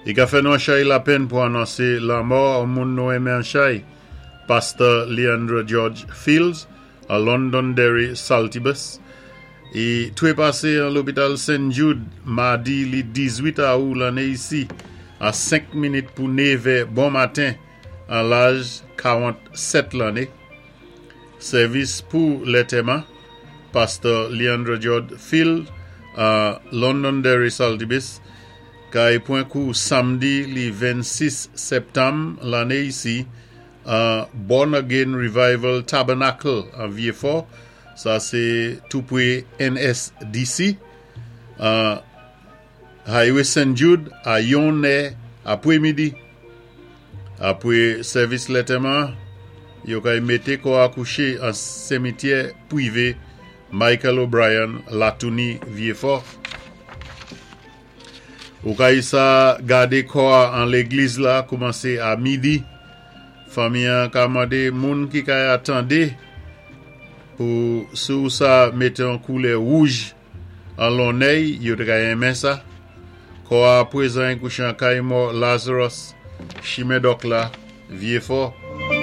I ka fè nou an chay lapenn pou anonsé lanmò an moun nou enmen an chay, Pastè Leandre George Fields, a Londonderry, Saltibus. I twépasé an lopital St. Jude madi li 18 awou lanné isi a 5 minit pou 9è bon maten an laj 47 lanné. Sèvis pou lantèman Pastè Leandre George Field a Londonderry, Saltibus kay pwan kou samdi li 26 sèptanm lanné isi a Born Again Revival Tabernacle an Vieux-Fort, sa sé tou pwé NSDC, an Highway St. Jude a 1 è apwémidi. Apwé sèvis lantèman, yo kay mété kò a kouché an simityè pwivé Michael O'Brien, Latouni, Vieux-Fort. Ou kay sa gadé kò a an légliz la koumansé a midi. Fanmi an ka mandé moun ki kay atandé pou si ou sa mété an koulè wouj an lonnèy, yo té ka enmen sa. Kò a pwézan kouché an kay mò Lazarus, Chimen Dòk la, Vieux-Fort.